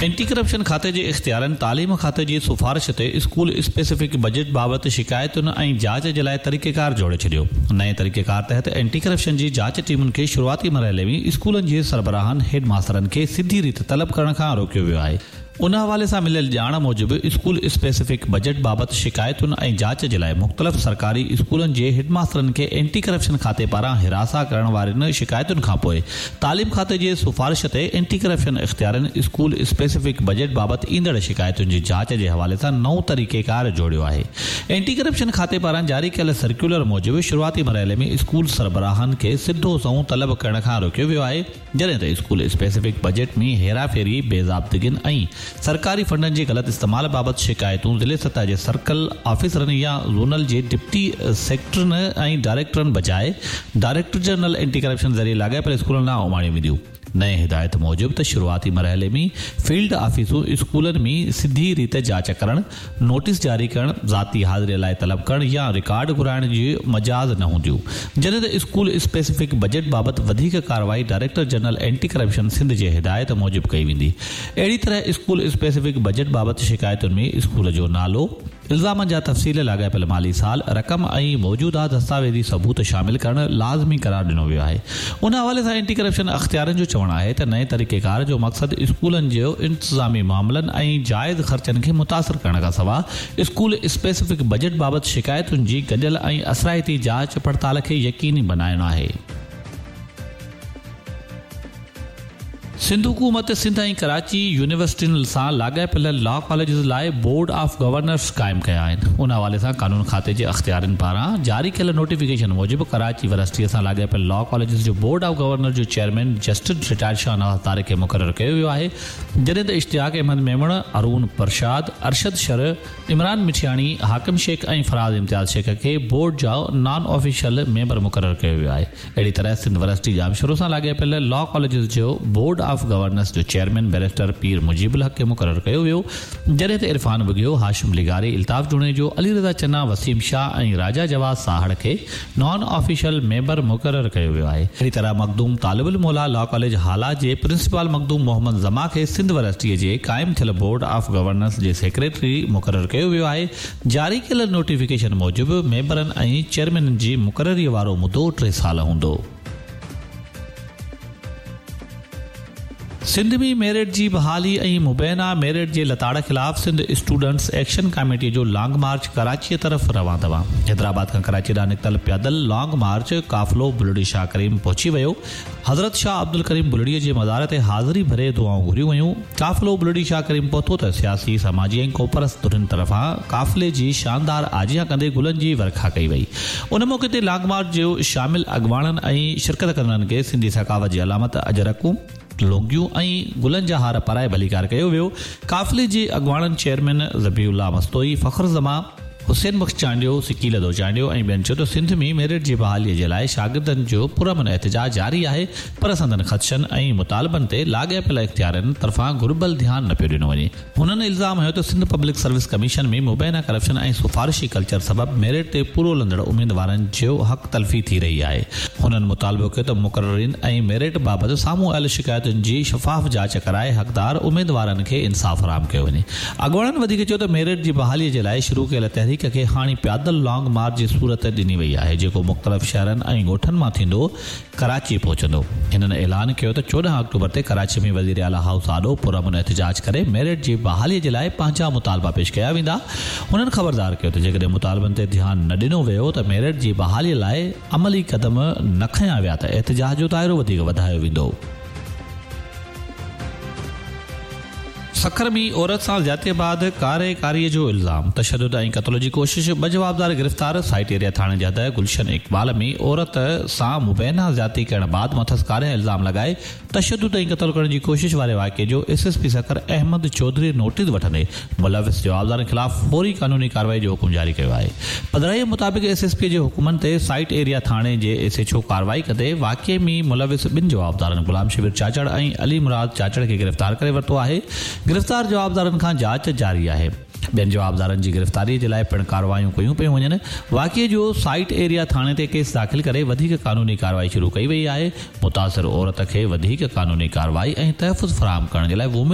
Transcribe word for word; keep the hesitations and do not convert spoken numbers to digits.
Anti corruption کاتي جي اختيارن تعليم کاتي جي سفارش تي اسڪول اسپيسفڪ بجيٽ بابت شڪايتن ۽ جاچ جي لاء طريقيڪار جوڙي ڇڏيو. نئين طريقيڪار تحت اينٽي ڪرپشن جي جاچ ٽيمن کي شروعاتي مرحلي ۾ اسڪولن جي سربراهن، هيڊ ماسترن کي سڌي ريت طلب ڪرڻ کان روڪيو ويو آهي. ان حوالي سان مليل ڄاڻ موجب اسڪول اسپيسفڪ بجيٽ بابت شڪايتن ۽ جاچ جي لاء مختلف سرڪاري اسڪولن جي هيڊ ماسترن کي اينٽي ڪرپشن کاتي پاران هراسان ڪرڻ وارين شڪايتن کانپوء تعليم کاتي جي سفارش تي اينٽي ڪرپشن اختيارين اسڪول اسپيسفڪ بجيٽ بابت ايندڙ شڪايتن جي جاچ جي حوالي سان نئون طريقيڪار جوڙيو آهي. اينٽي ڪرپشن کاتي پاران جاري ڪيل سرڪيولر موجب شروعاتي مرحلي ۾ اسڪول سربراهن کي سڌو سنئون طلب ڪرڻ کان روڪيو ويو آهي، جڏهن ته اسڪول اسپيسفڪ بجيٽ ۾ هيراڦيري، بي ضابطگين ۽ سرڪاري فنڊن جي غلط استعمال بابت شڪايتون ضلعي سطح جي سرڪل آفيسرن يا زونل جي ڊپٽي سيڪريٽرين ۽ ڊائريڪٽرن بجاء ڊائريڪٽر جنرل اينٽي ڪرپشن ذريعي لاڳاپيل اسڪولن ڏانهن اماڻيون وينديون. نئين هدايت موجب ته شروعاتي مرحلي ۾ فيلڊ آفيسون اسڪولن ۾ سڌي ريت جاچ ڪرڻ، نوٽيس جاري ڪرڻ، ذاتي حاضري لاء طلب ڪرڻ يا رڪارڊ گهرائڻ جي مجاز نه هونديون، جڏهن ته اسڪول اسپيسفڪ بجيٽ بابت وڌيڪ ڪارروائي director general anti corruption Sindh جي هدايت موجب ڪئي ويندي. اهڙي طرح اسڪول اسپيسفڪ بجيٽ بابت شڪايتن ۾ اسڪول جو نالو، الزامن جا تفصيل، لاڳاپيل مالي سال، رقم ۽ موجوده دستاويزي ثبوت شامل ڪرڻ لازمي قرار ڏنو ويو آهي. ان حوالي سان اينٽي ڪرپشن اختيارين جو چوڻ آهي ته نئين طريقيڪار جو مقصد اسڪولن جي انتظامي معاملن ۽ جائز خرچن کي متاثر ڪرڻ کانسواء اسڪول اسپيسفڪ بجيٽ بابت شڪايتن جي گڏيل ۽ اثرائتي جاچ پڙتال کي يقيني بڻائڻ آهي. سنڌ حڪومت سنڌ ۽ ڪراچي يونيورسٽين سان لاڳاپيل لا ڪاليجز لاء بورڊ آف گورنرز قائم ڪيا آهن. ان حوالي سان قانون کاتي جي اختيارين پاران جاري ڪيل نوٽيفڪيشن موجب ڪراچي ورسٽي سان لاڳاپيل لا ڪاليجز جو بورڊ آف گورنر جو chairman justice retired Shahnawaz Tariq کي مقرر ڪيو ويو آهي، جڏهن ته اشتياق احمد ميمڻ، ارون پرشاد، ارشد شر، عمران مٺياڻي، حاڪم شيخ ۽ فراز امتياز شيخ کي بورڊ جا نان آفيشل ميمبر مقرر ڪيو ويو آهي. اهڙي طرح سنڌ ورسٽي ڄامشورو سان لاڳاپيل لا ڪاليجز جو بورڊ آف گورنرز جو چيئرمين بئريسٽر پير مجيب الحق کي مقرر ڪيو ويو، جڏهن ته عرفان ٻگهيو، هاشم لغاري، الطاف جوڻيجو، علي رضا چنا، وسيم شاهه ۽ راجا جواز ساهڙ کي نان آفيشل ميمبر مقرر ڪيو ويو آهي. اهڙي طرح مخدوم طالب الموليٰ لا ڪاليج هالا جي پرنسپال مخدوم محمد زمان کي سنڌ ورسٽي جي قائم ٿيل بورڊ آف گورنرز جي سيڪريٽري مقرر ڪيو ويو آهي. جاري ڪيل نوٽيفڪيشن موجب ميمبرن ۽ چيئرمينن جي مقرري وارو مدو ٽي سال هوندو. سنڌ ۾ ميرٽ جي بحالي ۽ مبينا ميرٽ جي لتاڙ خلاف سنڌ اسٽوڊنٽس ايڪشن ڪاميٽي جو لانگ مارچ ڪراچيء طرف روان دوان. حيدرآباد کان ڪراچي ڏانهن نڪتل پيادل لانگ مارچ قافلو بلڙي شاهه ڪريم پهچي ويو. حضرت شاهه عبدالڪريم بلڙي جي مزار تي حاضري ڀري دعائون گهريون ويون. قافلو بلڙي شاهه ڪريم پهتو ته سياسي، سماجي ۽ قومپرست ڌرين طرفان قافلي جي شاندار آجيان ڪندي گلن جي ورکا ڪئي وئي. ان موقعي تي لانگ مارچ جي شامل اڳواڻن ۽ شرڪت ڪندڙن کي سنڌي ثقافت جي علامت اجرڪون، لونگيون ۽ گلن جا هار پارائي ڀليڪار ڪيو ويو. قافلي جي اڳواڻن چيئرمين ذبيح الله مستوئي، فخر زمان، حسين بخش چانڊيو، سڪيلڌو چانڊيو ۽ ٻين چيو ته سنڌ ۾ ميرٽ جي بحالي جي لاء شاگردن جو پرامن احتجاج جاري آهي پر سندن خدشن ۽ مطالبن تي لاڳاپيل اختيارين طرفان گهربل ڌيان نه پيو ڏنو وڃي. هنن الزام هنيو ته سنڌ پبلڪ سروس ڪميشن ۾ مبينا ڪرپشن ۽ سفارشي ڪلچر سبب ميرٽ تي پورو لهندڙ اميدوارن جو حق تلفي ٿي رهي آهي. هنن مطالبو ڪيو ته مقررين ۽ ميرٽ بابت سامهون آيل شڪايتن جي شفاف جاچ ڪرائي حقدار اميدوارن کي انصاف فراهم ڪيو وڃي. اڳواڻن وڌيڪ چيو ته ميرٽ جي بحالي جي لاء شروع ڪيل تحريڪ کي هاڻي پيادل لانگ مارچ جي صورت ڏني وئي آهي، جيڪو مختلف شهرن ۽ ڳوٺن مان ٿيندو ڪراچي پهچندو. هنن اعلان ڪيو ته چوڏهن آڪٽوبر تي ڪراچي ۾ وزيراعليٰ هائوس آڏو پرامن احتجاج ڪري ميرٽ جي بحالي جي لاء پنهنجا مطالبا پيش ڪيا ويندا. هنن خبردار ڪيو ته جيڪڏهن مطالبن تي ڌيان نه ڏنو ويو ته ميرٽ جي بحالي لاء عملي قدم نه کنيا ويا ته احتجاج جو دائرو وڌيڪ وڌايو ويندو. سکر ۾ عورت سان زيادتي بعد ڪاري ڪاري جو الزام، تشدد ۽ قتل جي ڪوشش، ٻه جوابدار گرفتار. سائيٽ ايريا ٿاڻي جي حد گلشن اقبال ۾ عورت سان مبينا زيادتي ڪرڻ بعد مٿس ڪاري الزام لڳائي تشدد ۽ قتل ڪرڻ جي ڪوشش واري واقعي جو S S P Sukkur Ahmed Chaudhry notice وٺندي ملوث جوابدارن خلاف فوري قانوني ڪارروائي جو حڪم جاري ڪيو آهي. پڌرائي مطابق ايس ايس پي جي حڪمن تي سائيٽ ايريا ٿاڻي جي ايس ايڇ او ڪارروائي ڪندي واقعي ۾ ملوث ٻن جوابدارن غلام شبير چاچڙ ۽ علي مراد چاچڙ کي گرفتار ڪري ورتو آهي. گرفتار جوابدارن کان جاچ جاري آهي. ٻين جوابدارن جي گرفتاري جي لاء پڻ ڪارروايون ڪيون پيون وڃن. واقعي جو سائيٽ ايريا ٿاڻي تي ڪيس داخل ڪري وڌيڪ قانوني ڪارروائي شروع ڪئي وئي آهي. متاثر عورت کي وڌيڪ قانوني ڪارروائي ۽ تحفظ فراهم ڪرڻ جي لاء وومين